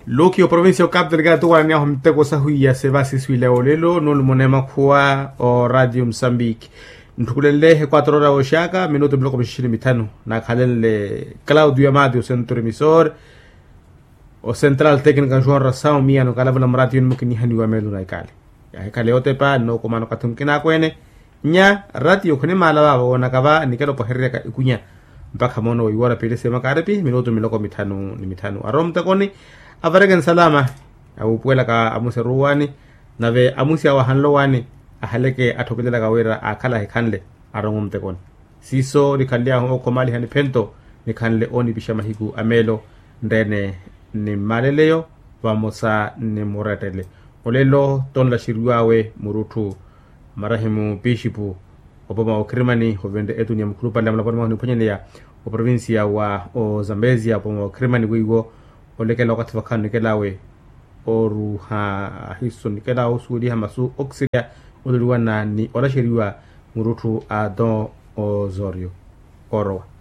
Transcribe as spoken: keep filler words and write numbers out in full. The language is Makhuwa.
Luki oprovincia okapu telekela tuwananyahu miteko sahuiya seva siswile olelo nulumona emakhuwa o radio musambiki. Ntthukulenle ekwatro ora oxaka minutu miloko mixixini mithanu. Nakhalenle claudio amati osentro emisor, ocentral tecnica nxuwa orasawu miyano kalavula murati yoni mukinihaniwa melu na ikali. Yahikhala yotepa nookomana okathi mukina akwene. Nya ratiyo khunimaala vaavo woonaka va nikela opahereryaka ikunya mpakha moono weiwara piilisi ya makaripi minutu miloko mithanu ni mithanu arowa mutekoni. Avareke nsalama awuupuwelaka amusi aruwani nave amusi awo ahanlowani ahaleke atthokelelaka wira akhala ahikhanle arowa mutekoni. Siiso nikhanly'ahu okhomaliha niphento nikhanle oonipixa mahiku a meelo nreene ni mmaleleyo vamosa ni murettele. Olelo tonlaxeriwawe murutthu marahimu pixipu opoma wa okhirimani ovenre etuni ya mukhulupale amulaponi mwahu niphwanyaneya oprovincia wa ozambezia opoma wa okhirimani weiwo olekela okathi vakhanikelawe oruha ahiso nikelawe osuweliha masu okiserya ololiwana ni olaxeriwa murutthu a don osorio orowa.